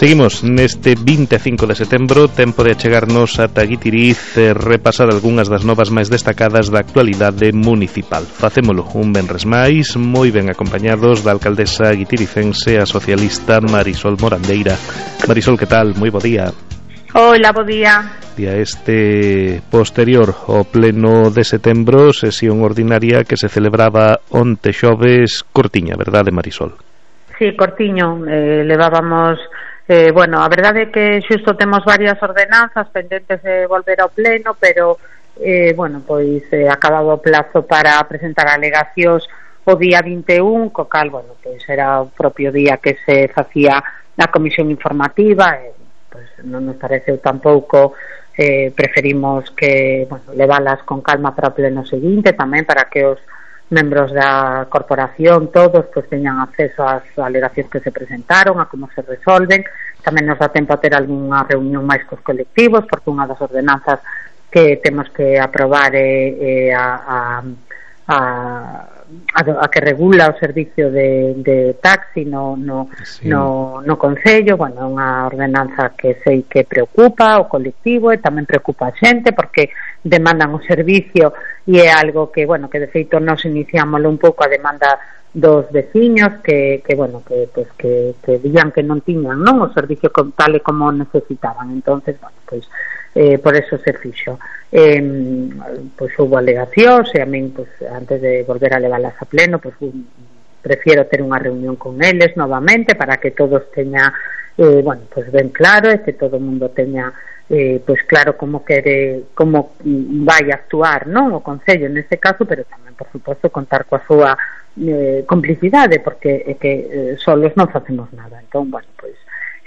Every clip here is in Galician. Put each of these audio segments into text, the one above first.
Seguimos neste 25 de setembro, tempo de achegarnos ata Guitiriz e repasar algunhas das novas máis destacadas da actualidade municipal. Facémolo un venres máis, moi ben acompañados da alcaldesa guitiricense, a socialista Marisol Morandeira. Marisol, que tal? Moi bo día. Hola, bo día. Día este posterior ao pleno de setembro, sesión ordinaria que se celebraba onte xoves, cortiña, verdade, Marisol? Sí, cortiño, levábamos... bueno, a verdade é que xusto temos varias ordenanzas pendentes de volver ao pleno, pero, bueno, pois acababa o plazo para presentar alegacións o día 21, co cal, bueno, pois era o propio día que se facía a comisión informativa, pois non nos pareceu tampouco, preferimos que, bueno, leválas con calma para o pleno seguinte, tamén para que os membros da corporación, todos, pues teñan acceso ás alegacións que se presentaron, a como se resolven. Tamén nos dá tempo a ter algunha reunión máis cos colectivos, porque unha das ordenanzas que temos que aprobar é a que regula o servicio de taxi no Concello. Bueno, unha ordenanza que sei que preocupa o colectivo e tamén preocupa a xente, porque demandan o servicio e é algo que, bueno, que de feito nos iniciámoslo un pouco a demanda dos veciños que dían que non tiñan, non, o servicio tal e como necesitaban. Entonces, bueno, pois por eso se fixo. Pois houve alegacións e a min, pois, antes de volver a leválas a pleno, pois prefiero ter unha reunión con eles novamente para que todos teña bueno, pois ben claro, e que todo o mundo teña pois claro como vai actuar, non, o Concello neste caso, pero tamén, por suposto, contar coa súa complicidade, porque é que solos non facemos nada. Entón, bueno, pois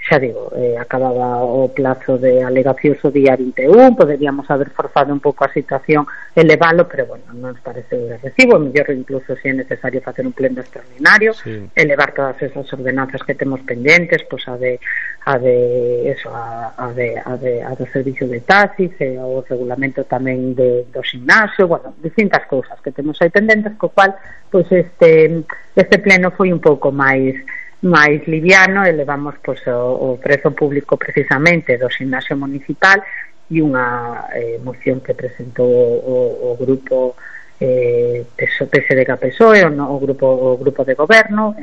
xa digo, acababa o plazo de alegacións o día 21, poderíamos haber forzado un pouco a situación e leválo, pero bueno, non nos parece de recibo, mellor incluso se é necesario facer un pleno extraordinario, sí, elevar todas esas ordenanzas que temos pendentes, pois a do servicio de taxis, o regulamento tamén do gimnasio, bueno, distintas cousas que temos aí pendentes, co cual, pois este pleno foi un pouco máis liviano, e levamos pois o prezo público precisamente do gimnasio municipal e unha moción que presentou o grupo PSDG-PSOE, o grupo de goberno,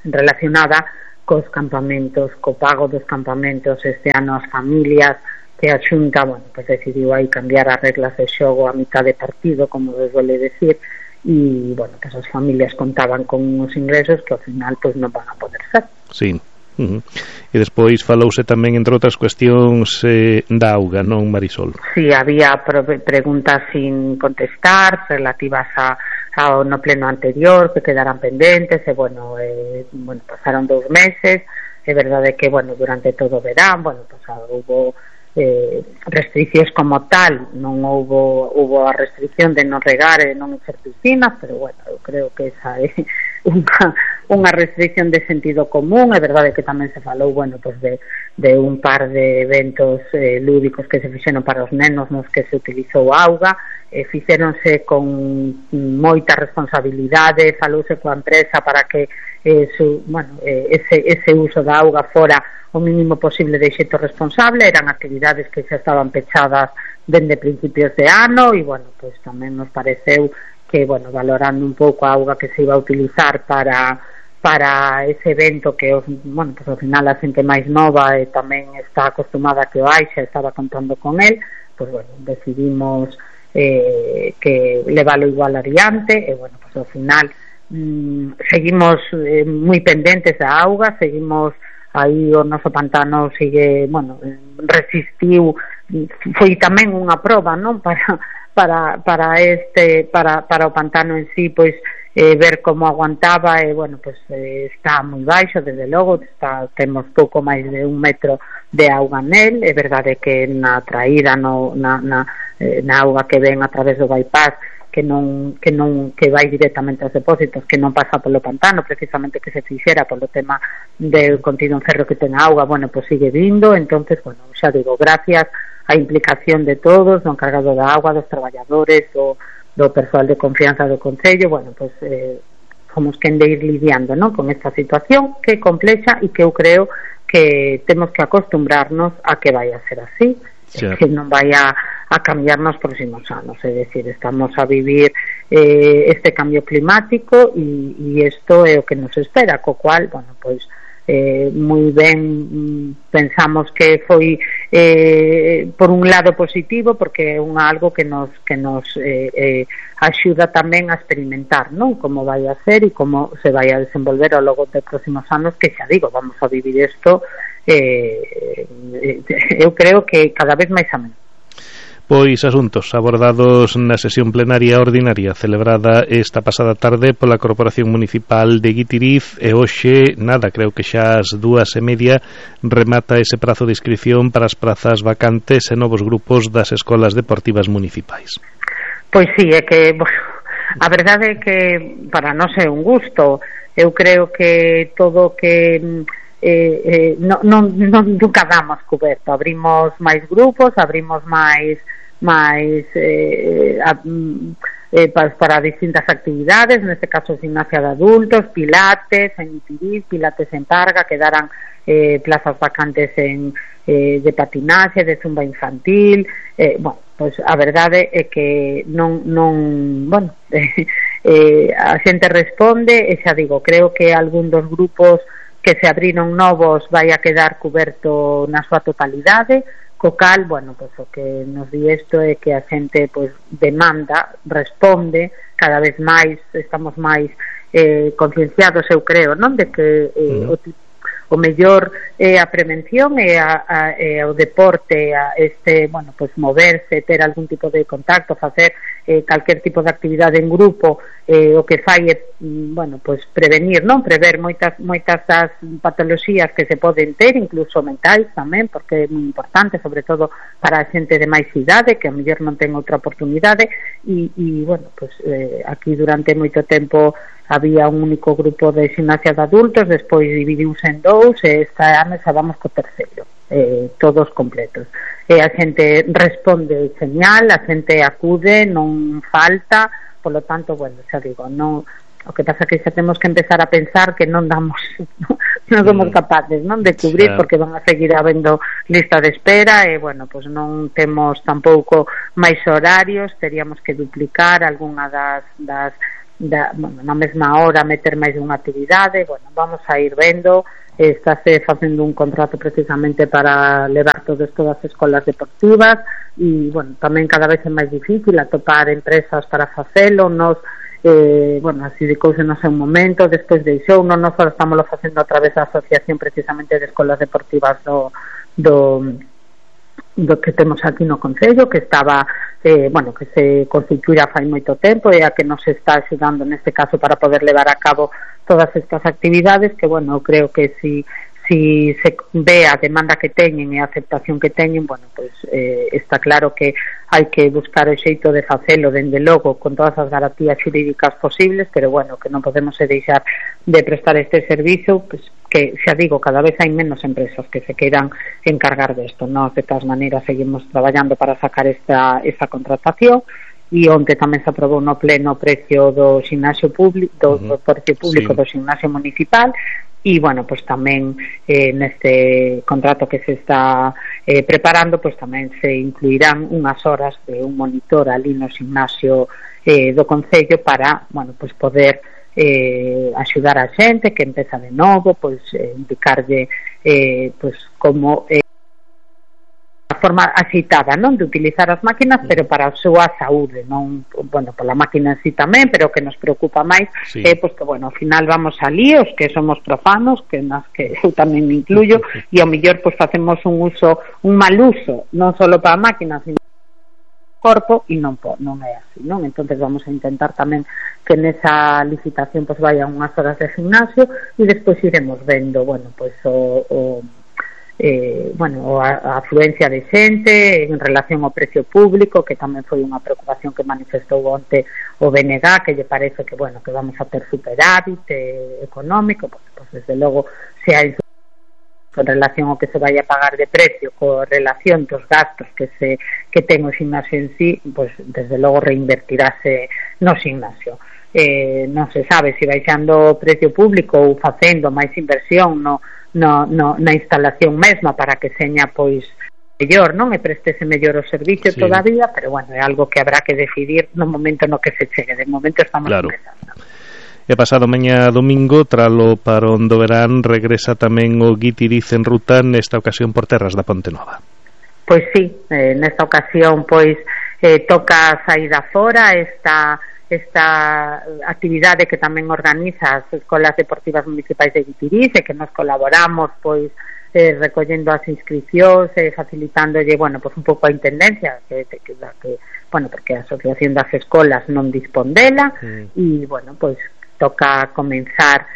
relacionada cos campamentos, co pago dos campamentos este ano ás familias, que a Xunta, bueno, pois decidiu aí cambiar as reglas de xogo a mitad de partido, como se suele decir, e, bueno, que as familias contaban con uns ingresos que ao final pois non van a poder ser. Sí. E despois falouse tamén, entre outras cuestións, da auga, non, Marisol? Sí, había preguntas sin contestar relativas ao no pleno anterior que quedaran pendentes, e bueno, pasaron 2 meses. É verdade que, bueno, durante todo o verán, bueno, pues houve restriccións como tal, non houve a restricción de non regar e non encher piscinas, pero bueno, eu creo que esa é unha restricción de sentido común. É verdade que tamén se falou, bueno, pues de un par de eventos lúdicos que se fixeron para os nenos nos que se utilizou auga, fixéronse con moita responsabilidade, falouse coa empresa para que ese uso da auga fora o mínimo posible de xeito responsable. Eran actividades que xa estaban pechadas dende principios de ano, e bueno, pois tamén nos pareceu que, bueno, valorando un pouco a auga que se iba a utilizar para ese evento que, bueno, pues ao final a xente máis nova e tamén está acostumada a que o hai, xa estaba contando con el, pois bueno, decidimos que leválo igual adiante, e bueno, pues ao final seguimos moi pendentes da auga, seguimos aí, o noso pantano sigue, bueno, resistiu, foi tamén unha proba, non, para o pantano en sí, pois ver como aguantaba, e bueno, pois está moi baixo, desde logo, temos pouco máis de 1 metro de auga nel. É verdade que na traída na auga que ven a través do bypass, que vai directamente aos depósitos, que non pasa polo pantano, precisamente que se fixera polo tema del contido en ferro que ten a auga, bueno, pois sigue vindo. Entonces, bueno, xa digo, gracias á implicación de todos, do encargado da auga, dos traballadores, do persoal de confianza do Concello, bueno, pois fomos quen de ir lidiando, non, con esta situación que é complexa e que eu creo que temos que acostumbrarnos a que vai a ser así, que non vai a cambiar nos próximos anos, é dicir, estamos a vivir este cambio climático e isto é o que nos espera, co cual, bueno, pois moi ben pensamos que foi por un lado positivo, porque é algo que nos axuda tamén a experimentar, non? Como vai a ser e como se vai a desenvolver ao longo dos próximos anos, que xa digo, vamos a vivir isto eu creo que cada vez máis a menos. Pois asuntos abordados na sesión plenaria ordinaria celebrada esta pasada tarde pola Corporación Municipal de Guitiriz e hoxe, creo que xa ás 2:30 remata ese prazo de inscripción para as prazas vacantes e novos grupos das escolas deportivas municipais. Pois sí, é que, bueno, a verdade é que para nós é un gusto. Eu creo que todo que non nunca damos coberto, abrimos máis grupos, abrimos máis para distintas actividades, neste caso gimnasia de adultos, pilates en Guitiriz, pilates en Parga, quedaran plazas vacantes de patinaxe, de zumba infantil, bueno, pois a verdade é que a xente responde, e xa digo, creo que algún dos grupos que se abriron novos vai a quedar coberto na súa totalidade, co cal, bueno, pois o que nos di isto é que a xente pois demanda, responde, cada vez máis estamos máis concienciados, eu creo, non, de que o mellor é a prevención e o deporte, bueno, pois moverse, ter algún tipo de contacto, facer calquer tipo de actividade en grupo, o que fai é, bueno, pois prevenir, non, prever moitas das patoloxías que se poden ter, incluso mentais tamén, porque é moi importante, sobre todo para a xente de máis idade, que a mellor non ten outra oportunidade, e bueno, pois aquí durante moito tempo había un único grupo de gimnasia de adultos, despois dividiuse en dous, e esta ano xa vamos co terceiro, todos completos. E a xente responde señal, a xente acude, non falta, polo tanto, bueno, xa digo, non, o que pasa que xa temos que empezar a pensar que non somos capaces, non, de cubrir, porque van a seguir habendo lista de espera, e bueno, pois non temos tampouco máis horarios, teríamos que duplicar algunha bueno, na mesma hora meter máis unha actividade, bueno, vamos a ir vendo, estáse facendo un contrato precisamente para levar todo isto das escolas deportivas, e, bueno, tamén cada vez é máis difícil atopar empresas para facelo, nos, bueno, así de cousa no seu momento, despois deixou, non nos estamos facendo a través da asociación precisamente de escolas deportivas do que temos aquí no Concello, que estaba bueno, que se constituirá fai moito tempo e a que nos está axudando neste caso para poder levar a cabo todas estas actividades, que bueno, creo que si se ve a demanda que teñen e a aceptación que teñen, bueno, pues está claro que hai que buscar o xeito de facelo, dende logo, con todas as garantías xurídicas posibles, pero bueno, que non podemos deixar de prestar este servizo, pues, que xa digo, cada vez hai menos empresas que se queiran encargar desto, non? De todas maneiras seguimos traballando para sacar esta contratación, e onte tamén se aprobou no pleno o precio do ximnasio público, do precio público do ximnasio municipal, e bueno, pues tamén neste contrato que se está preparando, pues tamén se incluirán unhas horas de un monitor ali no ximnasio do Concello para, bueno, pues poder axudar a xente que empeza de novo, pois indicarlle pois como a forma axitada, non, de utilizar as máquinas, pero para a súa saúde, non, bueno, pola máquina en sí tamén, pero que nos preocupa máis pois que, bueno, ao final vamos ali, os que somos profanos, que nas que eu tamén me incluyo, e ao mellor pois facemos un mal uso, non só para a máquina, sino corpo, e non é así, non? Entonces vamos a intentar tamén que nesa licitación pues vayan unhas horas de gimnasio, e despois iremos vendo, bueno, pues a afluencia de xente en relación ao precio público, que tamén foi unha preocupación que manifestou onte o BNG, que lle parece que, bueno, que vamos a ter superávit económico, pues desde logo se hai con relación ao que se vai a pagar de precio, con relación dos gastos que ten o ximnasio en sí, pues desde logo reinvertirase no ximnasio. non se sabe se baixando o precio público ou facendo máis inversión na instalación mesma para que seña pois mellor, non? E prestese mellor o servicio todavía, pero bueno, é algo que habrá que decidir no momento no que se chegue. De momento estamos empezando. E pasado mañá domingo, tralo parón do verán, regresa tamén o Guitiriz en ruta, nesta ocasión por terras da Ponte Nova. Pois sí, nesta ocasión pois toca a saída fora esta actividade que tamén organiza as escolas deportivas municipais de Guitiriz e que nos colaboramos pois recollendo as inscripcións e facilitándolle, bueno, pois un pouco a intendencia que bueno, porque a Asociación das Escolas non dispón dela e, bueno, pois toca comenzar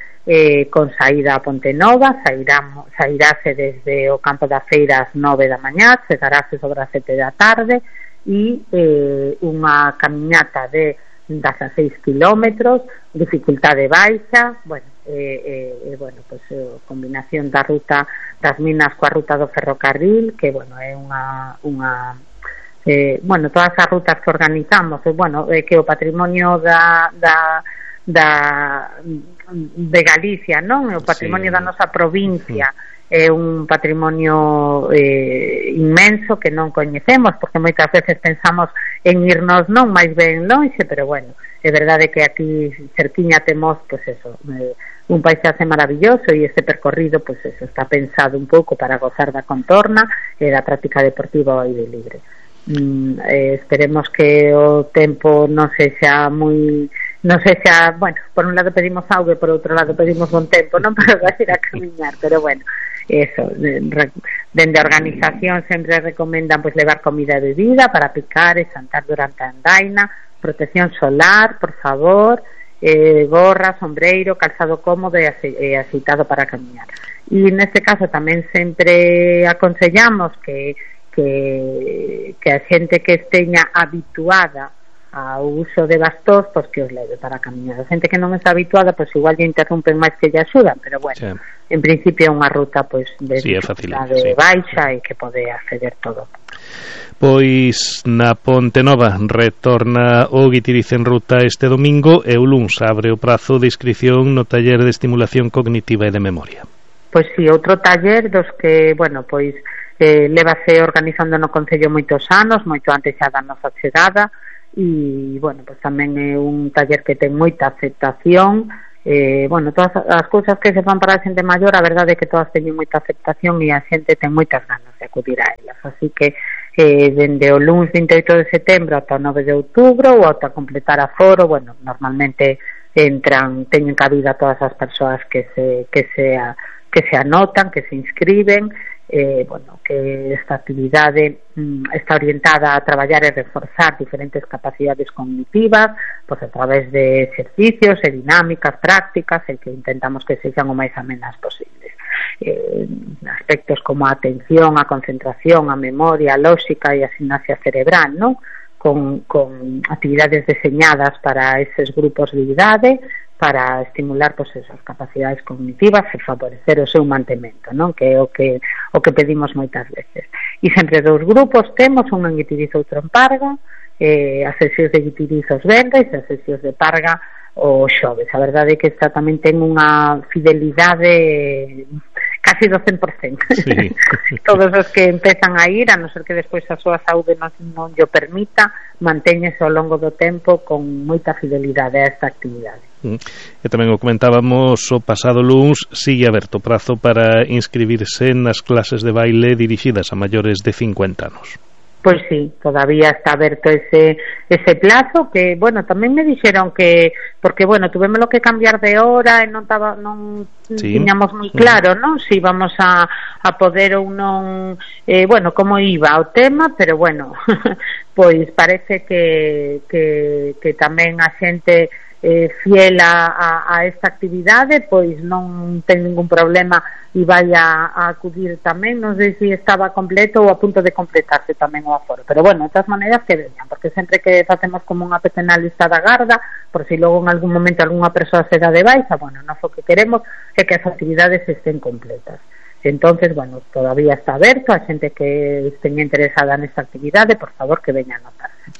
con saída a Ponte Nova, sairase desde o campo da feira ás 9 da mañá, chegarase sobre as 7 da tarde e unha camiñata de 16 kilómetros, dificultade baixa, bueno, bueno, pues combinación da ruta das minas coa ruta do ferrocarril, que bueno, é unha bueno, todas as rutas que organizamos, bueno, que o patrimonio de Galicia, non? O patrimonio da nosa provincia é un patrimonio inmenso que non coñecemos, porque moitas veces pensamos en irnos non máis ben lonxe, pero bueno, é verdade que aquí cerquiña temos, pues eso, un paisaxe maravilloso e este percorrido, pues eso, está pensado un pouco para gozar da contorna e da práctica deportiva ao aire libre. Esperemos que o tempo non sexa moi... Non sei se, bueno, por un lado pedimos auga e por outro lado pedimos bon tempo, non para ir a camiñar, pero bueno, eso, dende a organización sempre recomendan pues levar comida e bebida para picar e xantar durante a andaina, protección solar, por favor, gorra, sombreiro, calzado cómodo e axeitado para camiñar. E neste caso tamén sempre aconsellamos que a xente que esteña habituada ao uso de bastóns, pois que os leve para camiñar. A xente que non está habituada, pois igual lle interrompen máis que lle axudan, pero bueno, en principio é unha ruta pois de dificultade baixa e que pode acceder todo. Pois na Ponte Nova retorna o Guitiriz en ruta este domingo e o luns abre o prazo de inscripción no taller de estimulación cognitiva e de memoria. Pois si, outro taller dos que, bueno, pois levase organizando no Concello moitos anos, moito antes xa da nosa chegada, e, bueno, pues tamén é un taller que ten moita aceptación, bueno, todas as cousas que se fan para a xente maior, a verdade é que todas teñen moita aceptación e a xente ten moitas ganas de acudir a elas, así que dende o luns 28 de setembro ata o 9 de outubro ou ata completar a foro, bueno, normalmente teñen cabida todas as persoas que se anotan, que se inscriben, bueno, que esta actividade está orientada a traballar e reforzar diferentes capacidades cognitivas, pois a través de exercicios e dinámicas prácticas e que intentamos que sexan o máis amenas posibles. Aspectos como a atención, a concentración, a memoria, a lóxica e a sinapsia cerebral, non? Con actividades deseñadas para eses grupos de idade, para estimular pues esas capacidades cognitivas e favorecer o seu mantemento, non? Que é o que pedimos moitas veces. E sempre dous grupos temos, un en Guitiriz e outro en Parga, as sesións de Guitiriz os venres e as sesións de Parga o xoves. A verdade é que esta tamén ten unha fidelidade casi do 100%. Sí. Todos os que empezan a ir, a non ser que despois a súa saúde non llo permita, mantéñese ao longo do tempo con moita fidelidade a esta actividade. E tamén o comentábamos o pasado luns, sigue aberto prazo para inscribirse nas clases de baile dirixidas a maiores de 50 anos. Pois sí, todavía está aberto ese plazo, que, bueno, tamén me dixeron que, porque, bueno, tuvémoslo que cambiar de hora e non tiñamos moi claro, non? Si íbamos a poder ou non, bueno, como iba o tema, pero, bueno, pois parece que tamén a xente fiel a esta actividade, pois non ten ningún problema e vai a acudir tamén. Non sei se estaba completo ou a punto de completarse tamén o aforo, pero bueno, de todas maneiras que veñan, porque sempre que facemos como unha pequena lista da garda, por si logo en algún momento algunha persoa se dá de baixa, bueno, nós o que queremos é que as actividades estén completas. Entonces, bueno, todavía está aberto, a xente que esteña interesada nesta actividade, por favor, que veña a anotarse.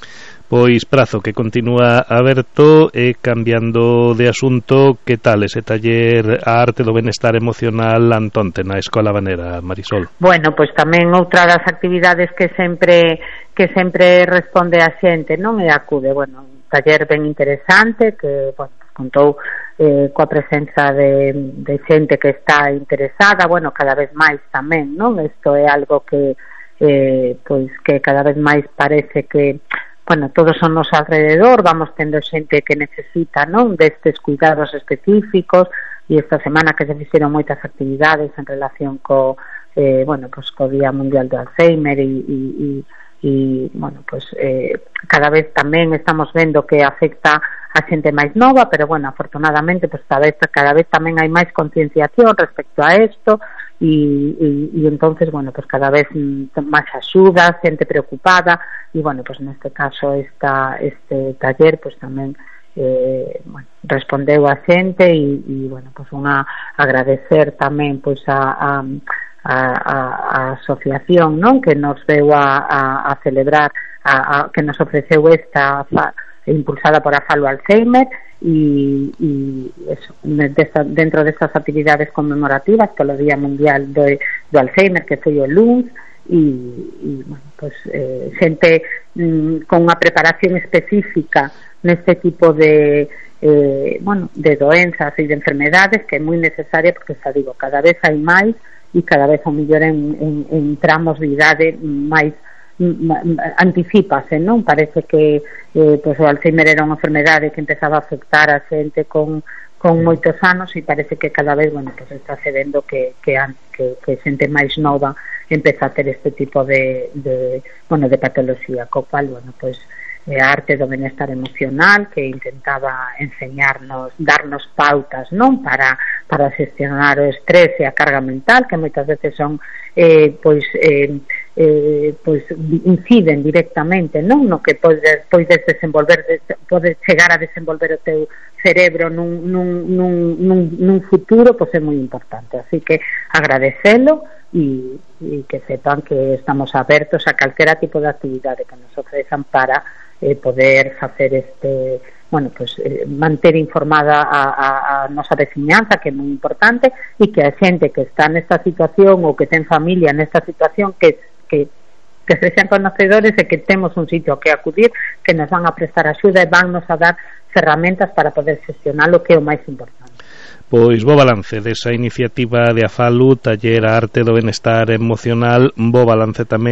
Pois prazo que continúa aberto. E cambiando de asunto, que tal ese taller A arte do benestar emocional Antonte na Escola Habanera, Marisol? Bueno, pois tamén outra das actividades que sempre responde a xente, non, e acude, bueno, un taller ben interesante que, bueno, contou coa presenza de xente que está interesada, bueno, cada vez máis tamén, non? Isto é algo que pois que cada vez máis parece que, bueno, todos son nos alrededor, vamos tendo xente que necesita, non, destes cuidados específicos, e esta semana que se fixeron moitas actividades en relación bueno, pues co Día Mundial do Alzheimer e bueno, pues cada vez tamén estamos vendo que afecta a xente máis nova, pero bueno, afortunadamente pues cada vez tamén hai máis concienciación respecto a isto e entonces, bueno, pues cada vez máis axuda, xente preocupada e bueno, pues neste caso este taller pues tamén bueno, respondeu a xente e bueno, pues unha agradecer tamén pues a asociación, non, que nos deu a celebrar, que nos ofreceu esta impulsada por a Falo Alzheimer e eso, dentro destas actividades conmemorativas polo Día Mundial do Alzheimer, que foi o luns, e bueno, pues xente con unha preparación específica neste tipo de bueno, de doenzas e de enfermedades, que é moi necesaria, porque xa digo, cada vez hai máis e cada vez ao mellor en tramos de idade máis anticípase, non? Parece que pois o Alzheimer era unha enfermedade que empezaba a afectar a xente con moitos anos e parece que cada vez, bueno, pues está se vendo que xente máis nova empeza a ter este tipo de patoloxía, co cual, bueno, pues a arte do benestar emocional, que intentaba enseñarnos, darnos pautas, non, para xestionar o estrés e a carga mental, que moitas veces son pois inciden directamente, non, no que podes desenvolver, podes chegar a desenvolver o teu cerebro nun futuro, pois é moi importante. Así que agradecelo e que sepan que estamos abertos a calquera tipo de actividade que nos ofrezan para poder facer bueno, pues manter informada a nosa veciñanza, que é moi importante, e que a xente que está nesta situación ou que ten familia nesta situación que sexan conocedores e que temos un sitio que acudir, que nos van a prestar axuda e van nos a dar ferramentas para poder xestionar o que é o máis importante. Pois bo balance desa iniciativa de Afalu, taller A arte do benestar emocional, bo balance tamén